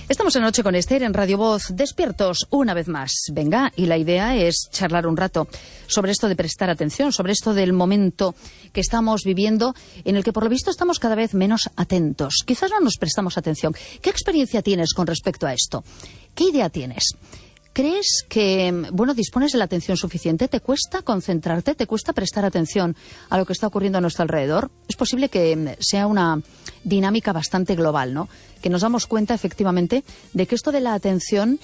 Estamos en Noche con Esther en Radio Voz, despiertos una vez más. Venga, y la idea es charlar un rato sobre esto de prestar atención, sobre esto del momento que estamos viviendo, en el que por lo visto estamos cada vez menos atentos. Quizás no nos prestamos atención. ¿Qué experiencia tienes con respecto a esto? ¿Qué idea tienes? ¿Crees que, dispones de la atención suficiente? ¿Te cuesta concentrarte? ¿Te cuesta prestar atención a lo que está ocurriendo a nuestro alrededor? Es posible que sea una dinámica bastante global, ¿no? Que nos damos cuenta, efectivamente, de que esto de la atención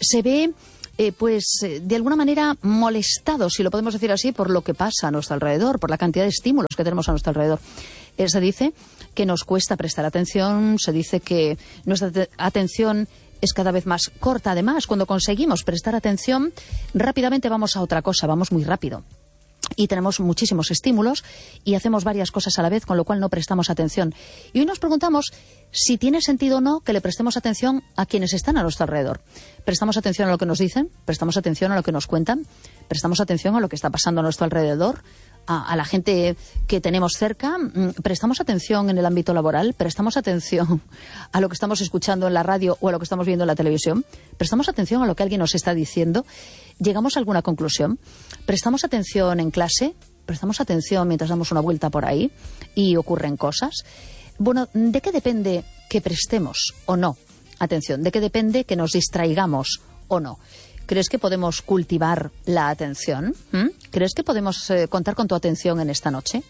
se ve, de alguna manera molestado, si lo podemos decir así, por lo que pasa a nuestro alrededor, por la cantidad de estímulos que tenemos a nuestro alrededor. Se dice que nos cuesta prestar atención, se dice que nuestra atención es cada vez más corta. Además, cuando conseguimos prestar atención, rápidamente vamos a otra cosa, vamos muy rápido. Y tenemos muchísimos estímulos y hacemos varias cosas a la vez, con lo cual no prestamos atención. Y hoy nos preguntamos si tiene sentido o no que le prestemos atención a quienes están a nuestro alrededor. ¿Prestamos atención a lo que nos dicen? ¿Prestamos atención a lo que nos cuentan? ¿Prestamos atención a lo que está pasando a nuestro alrededor? ¿A la gente que tenemos cerca? ¿Prestamos atención en el ámbito laboral? ¿Prestamos atención a lo que estamos escuchando en la radio o a lo que estamos viendo en la televisión? ¿Prestamos atención a lo que alguien nos está diciendo? ¿Llegamos a alguna conclusión? ¿Prestamos atención en clase? ¿Prestamos atención mientras damos una vuelta por ahí y ocurren cosas? Bueno, ¿de qué depende que prestemos o no atención? ¿De qué depende que nos distraigamos o no? ¿Crees que podemos cultivar la atención? ¿Crees que podemos contar con tu atención en esta noche?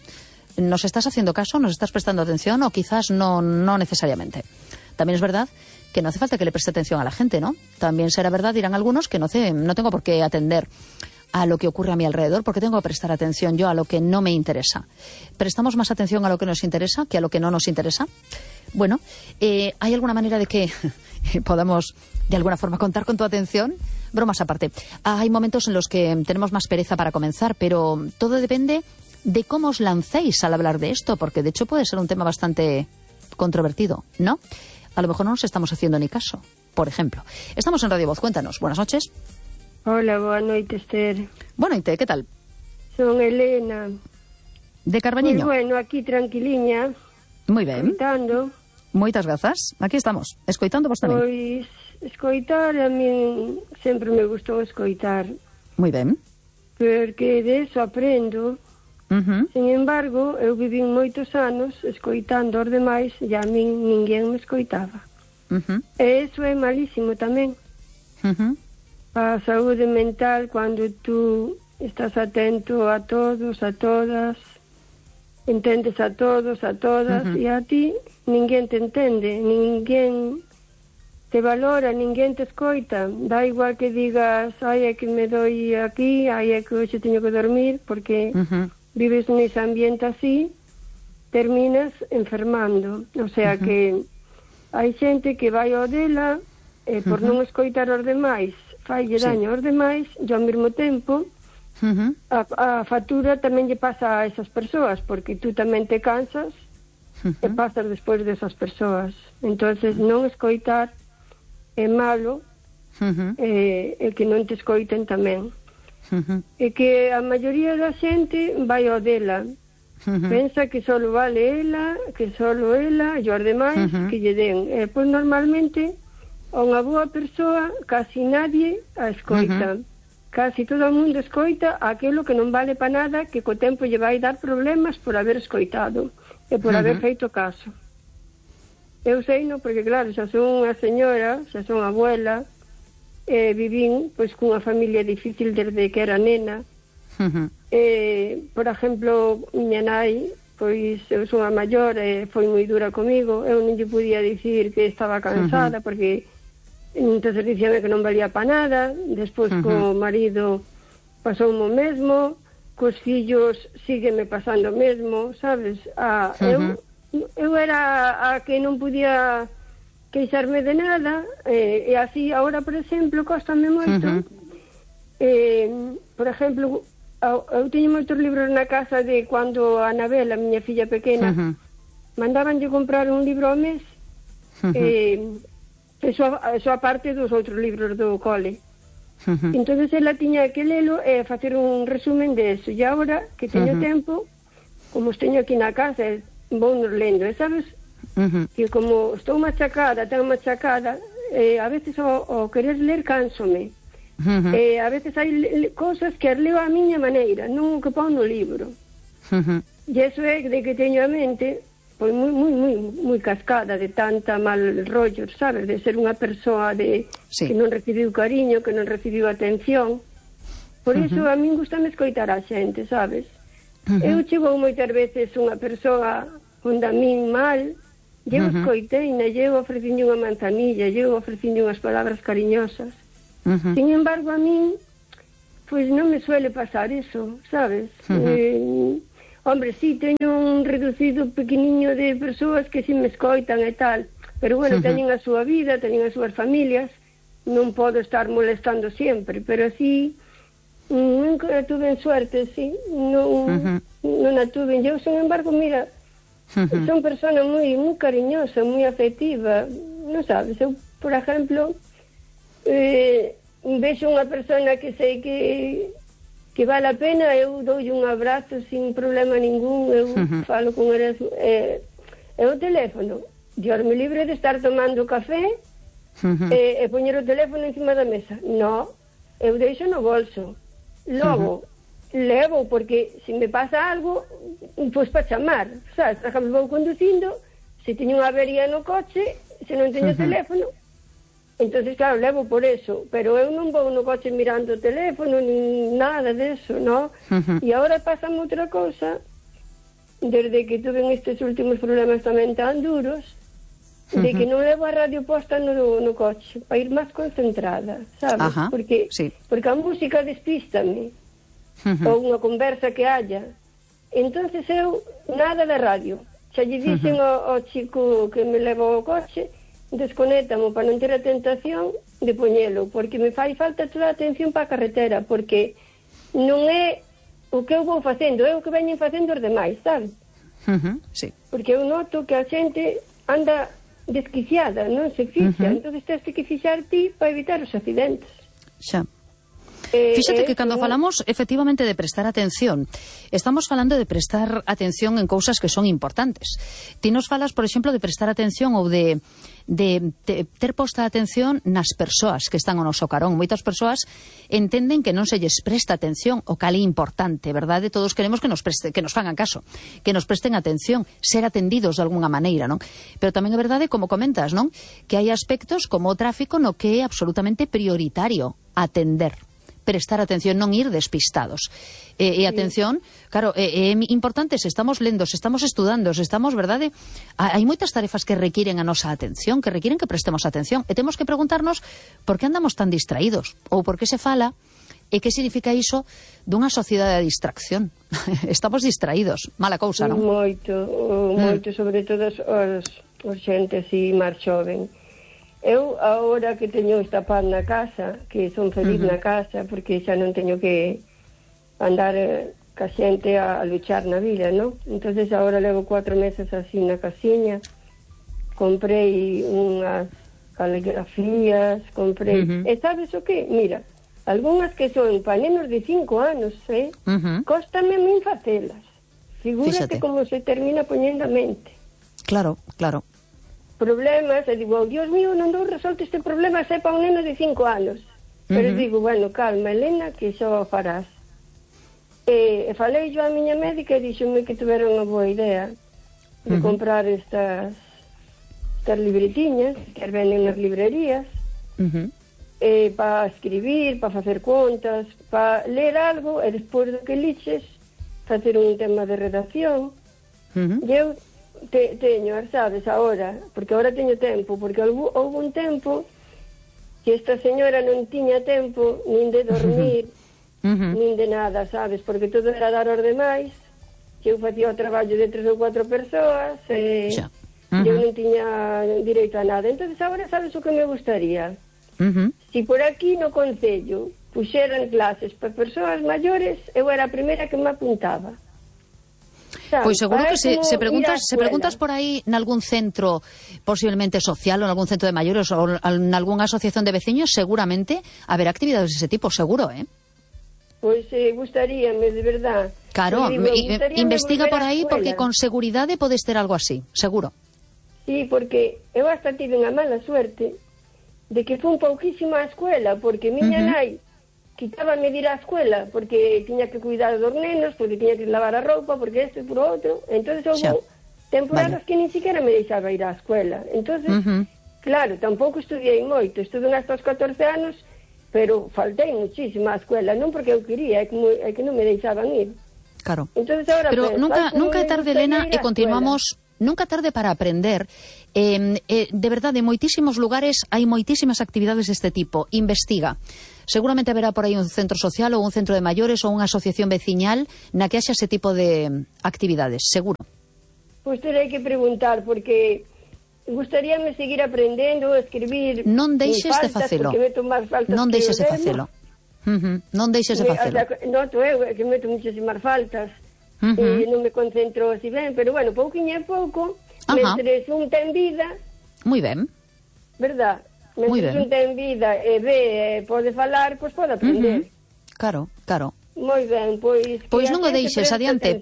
¿Nos estás haciendo caso? ¿Nos estás prestando atención? O quizás no necesariamente. También es verdad que no hace falta que le preste atención a la gente, ¿no? También será verdad, dirán algunos, que no tengo por qué atender a lo que ocurre a mi alrededor, porque tengo que prestar atención yo a lo que no me interesa. ¿Prestamos más atención a lo que nos interesa que a lo que no nos interesa? Bueno, ¿hay alguna manera de que podamos de alguna forma contar con tu atención? Bromas aparte. Hay momentos en los que tenemos más pereza para comenzar, pero todo depende de cómo os lancéis al hablar de esto, porque de hecho puede ser un tema bastante controvertido, ¿no? A lo mejor no nos estamos haciendo ni caso, por ejemplo. Estamos en Radio Voz, cuéntanos. Buenas noches. Hola, boa noite, Esther. Buenas noite, ¿qué tal? Son Elena. De Carbañiño. Pues bueno, aquí tranquiliña. Moi ben. Escoitando. Moitas grazas. Aquí estamos, escoitando vos tamén. Pois, escoitar, a mí sempre me gustou escoitar. Moi ben. Porque de eso aprendo. Sin embargo, eu vivín moitos anos escoitando os demais e a min ninguén me escoitaba. E eso é malísimo tamén. A saúde mental, cando tú estás atento a todos, a todas, entendes a todos, a todas, e a ti ninguén te entende, ninguén te valora, ninguén te escoita. Da igual que digas, ai, é que me doi aquí, ai, é que hoxe teño que dormir, porque vives nese ambiente así, terminas enfermando. O sea que hai xente que vai ao dela por non escoitar os demais, faille daño aos demais, e ao mesmo tempo a factura tamén lle pasa a esas persoas, porque tú tamén te cansas e pasas despois desas persoas. Entonces non escoitar é malo, e que non te escoiten tamén. E que a maioría da xente vai ao dela, pensa que só vale ela, que só ela e os demais que lle den. E pois normalmente a unha boa persoa casi nadie a escoita. Casi todo o mundo escoita aquilo que non vale para nada, que co tempo lle vai dar problemas por haber escoitado e por haber feito caso. Eu sei, no, porque claro, xa son unha señora, xa son abuela, vivín pois cunha familia difícil desde que era nena. Por exemplo, miña nai, pois eu son a maior e foi moi dura comigo. Eu non lle podía dicir que estaba cansada, porque entonces dicíame que non valía para nada. Despois co marido pasou o mesmo, cos fillos sígueme pasando o mesmo, sabes? Eu era a que non podía queixarme de nada, e así agora, por exemplo, cóstame moito. Por exemplo, eu teño moitos libros na casa de cando a Anabel, a miña filla pequena, mandabanlle comprar un libro ao mes, eso aparte dos outros libros do cole. Entonces ela tiña que lelo e facer un resumen de eso. E agora que teño tempo, como os teño aquí na casa, vou nos lendo, e sabes, que como estou machacada, tan machacada, a veces o querer ler cánsome. A veces hai cousas que as leo a miña maneira, non o que pon no libro. E iso é de que teño a mente pois moi cascada de tanta mal rollo, sabes, de ser unha persoa que non recibiu cariño, que non recibiu atención. Por iso a min gustame escoitar a xente, sabes? Eu chego moitas veces unha persoa onde a min mal, e eu escoiteina, e eu ofreciñe unha manzanilla, e eu ofreciñe unhas palabras cariñosas. Sin embargo, a min pois non me suele pasar iso, sabes? Hombre, sí, teño un reducido pequeniño de persoas que si me escoitan e tal, pero bueno, teñen a súa vida, teñen as súas familias, non podo estar molestando sempre, pero así nunca tuve suerte, sí, non a tuve. Eu, sin embargo, mira, son persona moi cariñosa, moi afectiva, non sabes, eu, por exemplo, vexo unha persona que sei que vale a pena, eu dou un abrazo sin problema ningún, eu falo con eles, o teléfono, diorme libre de estar tomando café e poñer o teléfono encima da mesa. No, eu deixo no bolso. Logo, levo, porque se me pasa algo, pois para chamar, sabes? Por exemplo, vou conducindo, se teño unha avería no coche, se non teño teléfono, entonces claro, levo por eso, pero eu non vou no coche mirando o teléfono, nin nada deso, no? E agora pásame outra cousa, desde que tuve estes últimos problemas tamén tan duros, de que non levo a radio posta no coche, para ir máis concentrada, sabes? Porque a música despístame, ou unha conversa que haya. Entonces eu, nada de radio. Xa lle dixen ao chico que me leva ao coche, desconétamo para non ter a tentación de poñelo, porque me fai falta toda a atención para a carretera, porque non é o que eu vou facendo, é o que veñen facendo os demais, sabes? Porque eu noto que a xente anda desquiciada, non se fixa, entonces tens que fixar ti para evitar os accidentes. Xa. Fíxate que cando falamos efectivamente de prestar atención, estamos falando de prestar atención en cousas que son importantes. Ti nos falas, por exemplo, de prestar atención ou de ter posta atención nas persoas que están ao noso carón. Moitas persoas entenden que non se lles presta atención, o cal é importante, verdade? Todos queremos que nos fagan caso, que nos presten atención, ser atendidos de alguna maneira, non? Pero tamén é verdade, como comentas, non? Que hai aspectos como o tráfico no que é absolutamente prioritario atender, prestar atención, non ir despistados. E atención, claro, é importante, se estamos lendo, se estamos estudando, se estamos, verdade? Hai moitas tarefas que requiren a nosa atención, que requiren que prestemos atención, e temos que preguntarnos por que andamos tan distraídos, ou por que se fala, e que significa iso dunha sociedade de distracción. Estamos distraídos, mala cousa, non? Moito, sobre todo os xente así máis xoven. Eu, agora que teño esta paz na casa, que son feliz na casa, porque xa non teño que andar ca xente a luchar na vida, non? Entonces agora levo 4 meses así na casiña, comprei unhas caligrafías, comprei... E sabes o que? Mira, algunhas que son para nenos de 5 anos, cóstame a min facelas. Figúrate como se termina poñendo a mente. Claro, claro. Problemas, e digo, Dios mío, non dou resolto este problema, sei para un neno de 5 anos. Pero digo, bueno, calma, Elena, que xa o farás. E falei yo a miña médica e díxome que tuvera unha boa idea de comprar estas libretiñas que venden nas librerías, para escribir, para facer contas, para ler algo, e despois do que liches, facer un tema de redacción. E eu teño, sabes, agora, porque agora teño tempo, porque houve un tempo que esta señora non tiña tempo nin de dormir, nin de nada, sabes, porque todo era dar aos demais, que eu facía o traballo de 3 ou 4 persoas, e eu non tiña direito a nada. Entonces agora sabes o que me gustaría? Si por aquí no concello puxeran clases para persoas maiores, eu era a primeira que me apuntaba. Pois seguro que se preguntas por aí nalgún centro posiblemente social ou nalgún centro de maiores ou nalgúnha asociación de veciños, seguramente haberá actividades dese tipo, seguro, Pois gustaríame, de verdad. Claro, investiga por aí porque con seguridade podes ter algo así, seguro. Sí, porque eu hasta tive unha mala suerte de que fun pouquísimo á escuela, porque miña nai quitábame de ir á escuela, porque tiña que cuidar dos nenos, porque tiña que lavar a roupa, porque isto e por outro. Entonces houve temporadas que ni siquiera me deixaba ir á escuela. Entonces, claro, tampouco estudiei moito, estuve hasta os 14 anos, pero faltei muchísimo á escuela, non porque eu quería, é que non me deixaban ir. Claro. Entonces, ahora pero nunca é tarde, Elena, e continuamos... Nunca tarde para aprender. De verdade, en moitísimos lugares hai moitísimas actividades deste tipo. Investiga. Seguramente haberá por aí un centro social ou un centro de maiores ou unha asociación veciñal na que haxa ese tipo de actividades, seguro. Pois terei que preguntar, porque gustaríame seguir aprendendo, escribir. Non deixes de facelo. Non deixes de facelo. Non deixes de facelo. Noto eu que meto muchísimas faltas. E non me concentro así ben, pero bueno, pouquinho a pouco, mentres un ten vida. Moi ben. Verdad? Mentres un ten vida e ve, pode falar, pois pode aprender. Claro. Moi ben, pois non o deixes, adiante.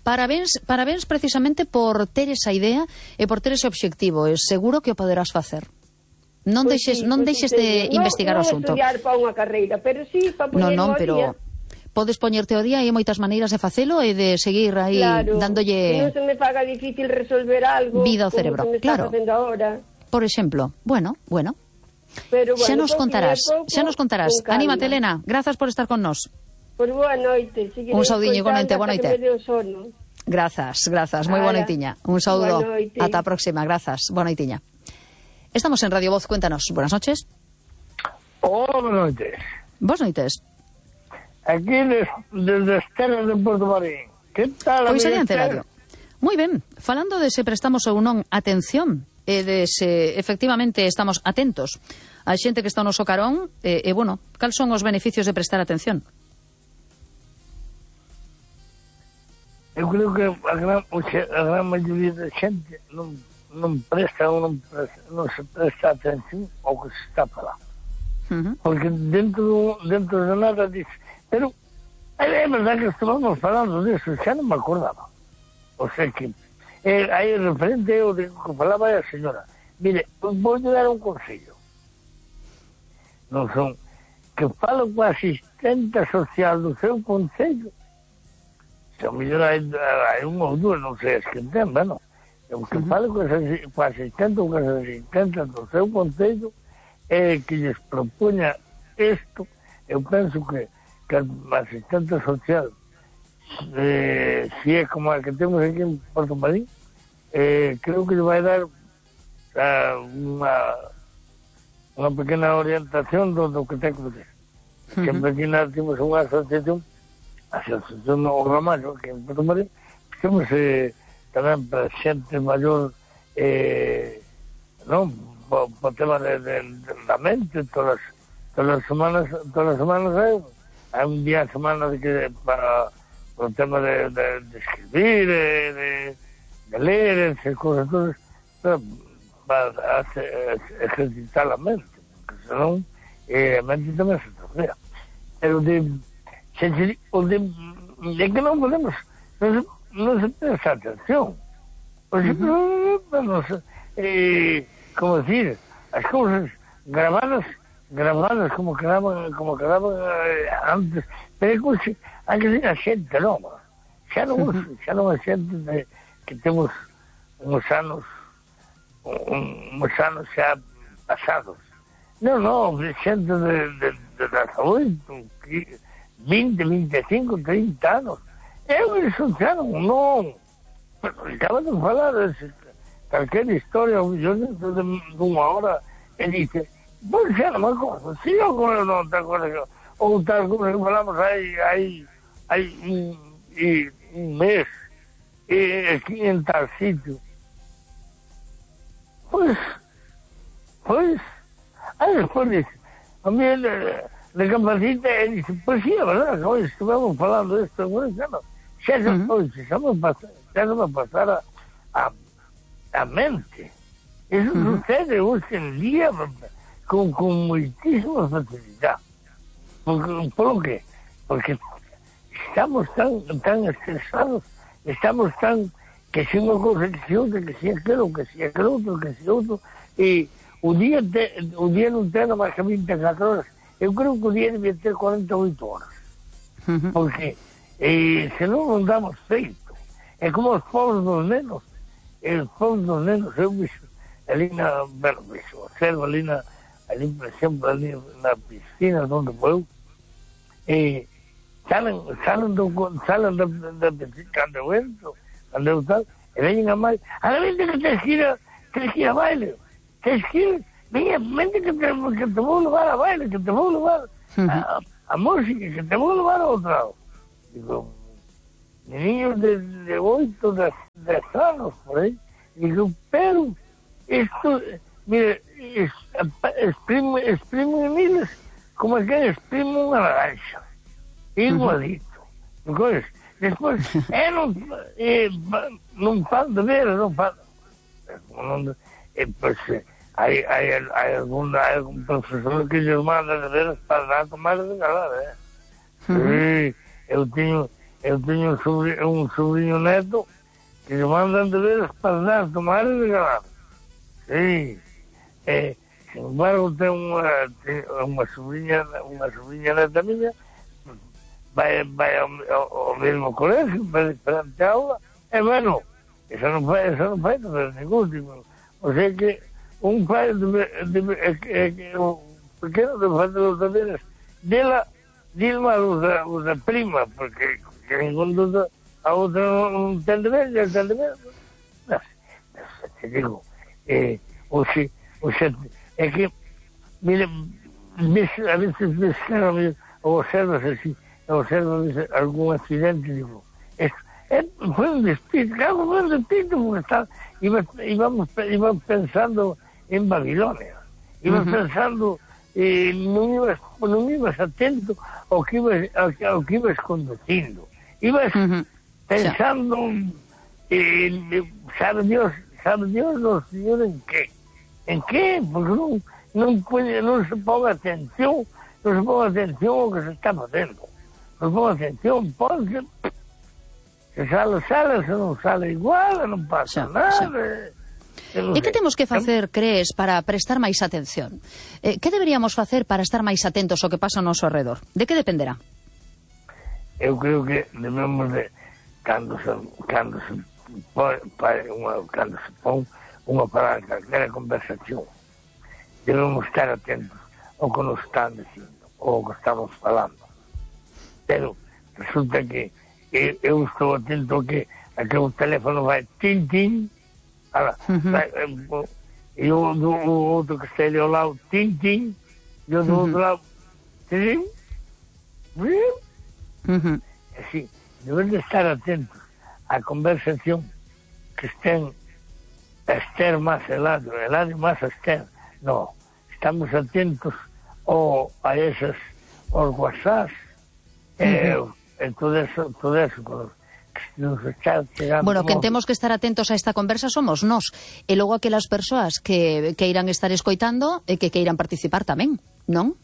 Parabéns precisamente por ter esa idea e por ter ese obxectivo. Seguro que o poderás facer. Non deixes de investigar o asunto. Non estudiar para unha carreira, pero sí para poñer Non, pero podes poñerte o día e hai moitas maneiras de facelo e de seguir aí dándolle... Non se me faga difícil resolver algo vida ao cerebro, como se me está facendo ahora. Por exemplo, bueno. Pero, xa nos contarás. Anímate, Elena. Grazas por estar con nós. Pois boa noite. Un saudiño igualmente, boa noite. Grazas. Moi boa noitiña. Un saúdo. Ata a próxima. Grazas. Boa noitiña. Estamos en Radio Voz. Cuéntanos. Buenas noches. Hola, buenas noches. Boas noites. Aquí desde as terras de Porto Marín. Que tal? Pois adiante, Radio. Moi ben, falando de se prestamos ou non atención e de se efectivamente estamos atentos a xente que está no noso carón bueno, cal son os beneficios de prestar atención? Eu creo que a gran maioría da xente non presta ou non se presta atención ao que se está falando. Porque dentro de nada dice... Pero é verdade que estamos falando disso, xa non me acordaba. O sea que aí referente ao que falaba a señora. Mire, vou dar un consello. Non son que falo coa asistente social do seu concello. Se o mellor hai un ou dúas, non sei as que ten, bueno. Que falo coa asistente ou coa asistente do seu concello que lles propoña isto. Eu penso que a asistente social si é como a que temos aquí en Porto Marín, creo que lle vai dar unha pequena orientación do que ten que fazer. Sempre aquí temos unha asociación no Ramallo, aquí en Porto Marín, temos tamén para xente maior non, po tema da mente, todas as semanas hai un día a semana para o tema de escribir, de ler, esas cosas todas, para ejercitar a mente, porque senón a mente tamén se tornea. Pero de que non podemos, non se presta atención. Por exemplo, como decir, as cousas grabadas como quedaban antes, pero hai que ser a xente nova, xa non a xente que temos uns anos xa pasados, non, xente de 18, 20, 25, 30 anos, eso xa non, acaba de falar calquera historia, o millón dentro de unha hora, e dice, pois xa non me acordo, si eu non te acordo, ou tal como que falamos hai un mes, aquí en tal sitio. Pois, aí despois dice, a mí de Campacita, e dice, pois sí, é verdad, que hoy estuvemos falando disto, xa me pasara a mente. Eso sucede hoxe en día con moitísima facilidade. Por que? Porque estamos tan estresados, estamos tan que si unha cousa, que si outra, que si aquilo, que si aquilo outro, que si outro, e o día non ten máis que 24 horas. Eu creo que o día debía ter 48 horas. Porque senón non damos feito. É como os povos dos nenos. Os povos dos nenos, eu vixo ali observo ali, por exemplo, ali na piscina onde vou, e salen da piscina, cando eu entro, cando eu tal, e veñen a máis, a la vente que tens que ir a baile, tens que ir, vente que te vou levar a baile, que te vou levar a música, que te vou levar a outro lado. Digo, niños de 8, 10 anos, por aí, digo, pero isto, mire, exprime miles como é que exprime unha naranja, igualito. Despois, non fan de ver, non fan, pois, hai algún profesor que lles manda de ver para tomar de galar, eu teño un sobrinho neto que lhe mandan de ver para tomar de galar. Sí, sin embargo, ten unha sobrinha neta miña, vai ao mesmo colegio, vai diferente aula, e bueno, eso non fai ningún tipo. O sea que un pai o pequeno debe fazer os deberes dela, Dilma os da prima, porque ningún duda a outra non ten deberes, e ten deberes. Non sei, te digo, o sea, é que, mire, a veces ves observas así, algún accidente, digo, foi un despiste, porque íbamos pensando en Babilonia, íbamos pensando, non ibas atento ao que ibas conducindo, ibas pensando, sabe Dios, no Señor, en qué, porque non se ponga atención ao que se está facendo, non se ponga atención, porque se sale, se non sale igual, non pasa nada. E que temos que facer, crees, para prestar máis atención? Que deberíamos facer para estar máis atentos ao que pasa ao noso alrededor? De que dependerá? Eu creo que debemos de, cando se pon unha palabra, calquera conversación, debemos estar atentos ao que nos están dicindo, ou ao que estamos falando. Pero resulta que eu estou atento a que o teléfono vai tin, e o outro que está ali ao lado, tin, e o do outro lado, tin, así, debemos de estar atentos á conversación que estén a Esther más Eladio más a Esther. No, estamos atentos a esas, aos WhatsApps, todo eso que nos está chegando. Bueno, que temos que estar atentos a esta conversa somos nós, e logo aquelas persoas que irán estar escoitando e que irán participar tamén, non?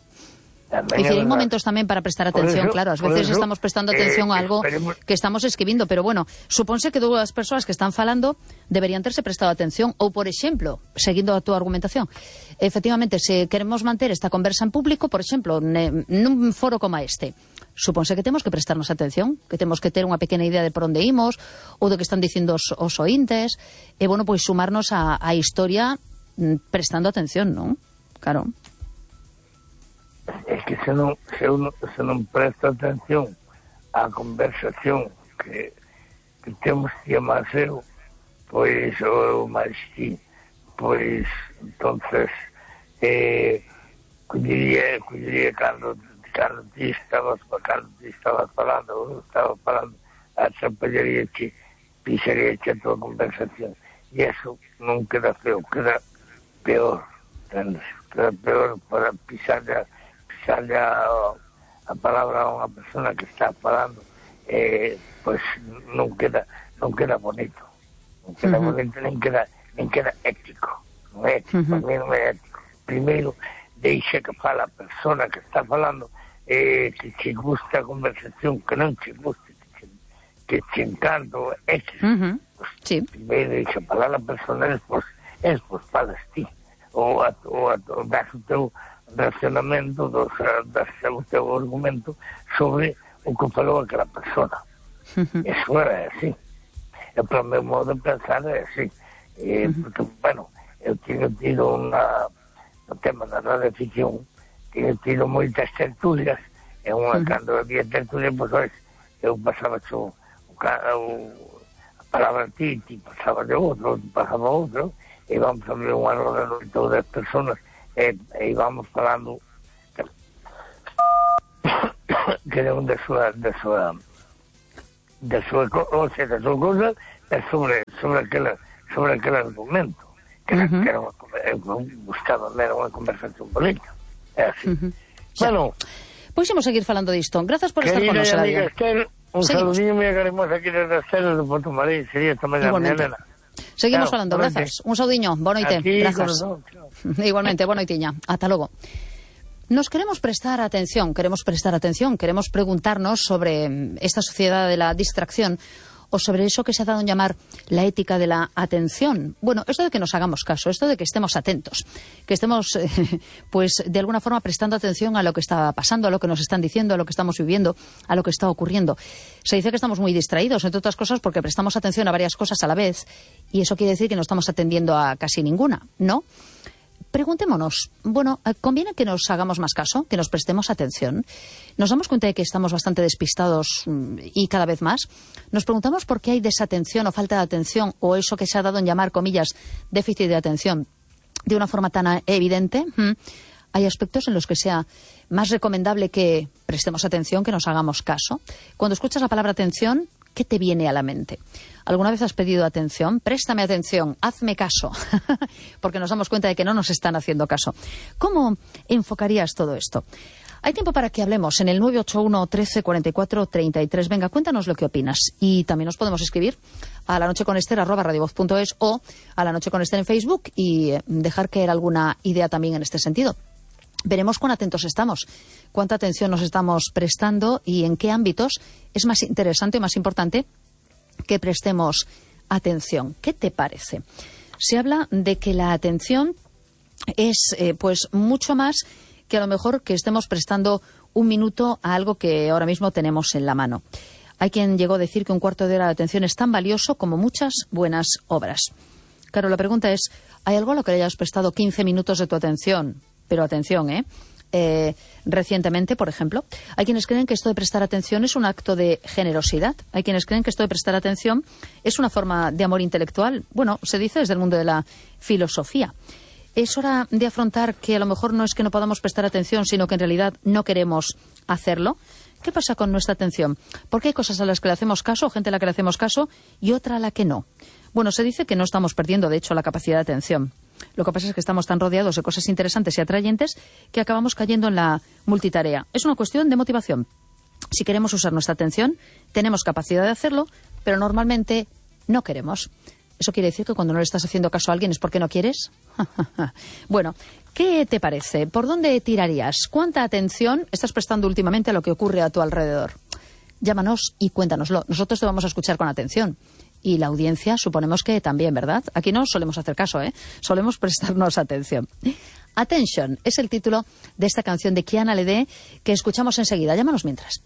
É dicir, hai momentos tamén para prestar atención, claro, ás veces estamos prestando atención a algo que estamos escribindo, pero bueno, supónse que dúas persoas que están falando deberían terse prestado atención, ou, por exemplo, seguindo a túa argumentación, efectivamente, se queremos manter esta conversa en público, por exemplo, nun foro como este, supónse que temos que prestarnos atención, que temos que ter unha pequena idea de por onde imos, ou do que están dicindo os ointes, e, bueno, pois sumarnos á historia prestando atención, non? Claro. É que se non presta atención á conversación que temos que amar eu, pois, ou máis ti, pois, entonces, collería cando ti estabas falando, ou estaba falando, atrapallaríache, pisaríache a tua conversación, e eso non queda feo, queda peor, entendes? Queda peor para pisarle a palabra a unha persona que está falando, pois non queda bonito, non queda bonito, nen queda ético, non é ético, para mí non é ético. Primeiro, deixa que fala a persona que está falando, que che gusta a conversación, que non che guste, que che encanta, Sí. Primeiro, dixe, falar a persona es falas ti. Ou das o teu reaccionamento, das o teu argumento sobre o que falou aquela persona. Eso é así. E para o meu modo de pensar é así. Porque, bueno, eu tinha tido no tema da radioficción, tinha tido moitas tertulias, e cando había tertulias, pois, eu pasaba a palabra ti pasaba de outro, pasaba outro, e íbamos a ver unha roda de todas as personas, e íbamos falando que era da súa cosa, sobre aquele argumento, que era buscaba era unha conversación política. É así. Bueno, pois imos seguir falando disto. Grazas por estar con nos, amiga Esther, un saludinho moi cariñoso aquí desde as Ceres de Porto Marín, sería esta mañá, Elena. Seguimos falando, grazas. Un saudiño, boa noite. Grazas. Igualmente, boa noitiña. Ata logo. Nos queremos prestar atención, queremos preguntarnos sobre esta sociedad de la distracción o sobre eso que se ha dado en llamar la ética de la atención. Bueno, esto de que nos hagamos caso, esto de que estemos atentos, que estemos, pues, de alguna forma prestando atención a lo que está pasando, a lo que nos están diciendo, a lo que estamos viviendo, a lo que está ocurriendo. Se dice que estamos muy distraídos, entre otras cosas, porque prestamos atención a varias cosas a la vez, y eso quiere decir que no estamos atendiendo a casi ninguna, ¿no? Preguntémonos, bueno, ¿conviene que nos hagamos más caso, que nos prestemos atención? ¿Nos damos cuenta de que estamos bastante despistados y cada vez más? ¿Nos preguntamos por qué hay desatención o falta de atención o eso que se ha dado en llamar, comillas, déficit de atención de una forma tan evidente? Hay aspectos en los que sea más recomendable que prestemos atención, que nos hagamos caso. Cuando escuchas la palabra atención, ¿qué te viene a la mente? ¿Alguna vez has pedido atención? Préstame atención, hazme caso, porque nos damos cuenta de que no nos están haciendo caso. ¿Cómo enfocarías todo esto? Hay tiempo para que hablemos en el 981 13 44 33. Venga, cuéntanos lo que opinas. Y también nos podemos escribir a lanocheconester@radiovoz.es o a La Noche con Esther en Facebook y dejar caer alguna idea también en este sentido. Veremos cuán atentos estamos, cuánta atención nos estamos prestando y en qué ámbitos es más interesante o más importante que prestemos atención. ¿Qué te parece? Se habla de que la atención es pues mucho más que a lo mejor que estemos prestando un minuto a algo que ahora mismo tenemos en la mano. Hay quien llegó a decir que un cuarto de hora de atención es tan valioso como muchas buenas obras. Claro, la pregunta es, ¿hay algo a lo que le hayas prestado 15 minutos de tu atención? Pero atención, recientemente, por ejemplo, hay quienes creen que esto de prestar atención es un acto de generosidad. Hay quienes creen que esto de prestar atención es una forma de amor intelectual. Bueno, se dice desde el mundo de la filosofía. Es hora de afrontar que a lo mejor no es que no podamos prestar atención, sino que en realidad no queremos hacerlo. ¿Qué pasa con nuestra atención? Porque hay cosas a las que le hacemos caso, gente a la que le hacemos caso, y otra a la que no. Bueno, se dice que no estamos perdiendo, de hecho, la capacidad de atención. Lo que pasa es que estamos tan rodeados de cosas interesantes y atrayentes que acabamos cayendo en la multitarea. Es una cuestión de motivación. Si queremos usar nuestra atención, tenemos capacidad de hacerlo, pero normalmente no queremos. ¿Eso quiere decir que cuando no le estás haciendo caso a alguien es porque no quieres? Bueno, ¿qué te parece? ¿Por dónde tirarías? ¿Cuánta atención estás prestando últimamente a lo que ocurre a tu alrededor? Llámanos y cuéntanoslo. Nosotros te vamos a escuchar con atención. Y la audiencia suponemos que también, ¿verdad? Aquí no solemos hacer caso, solemos prestarnos atención. Attention es el título de esta canción de Kiana Ledé que escuchamos enseguida. Llámanos mientras.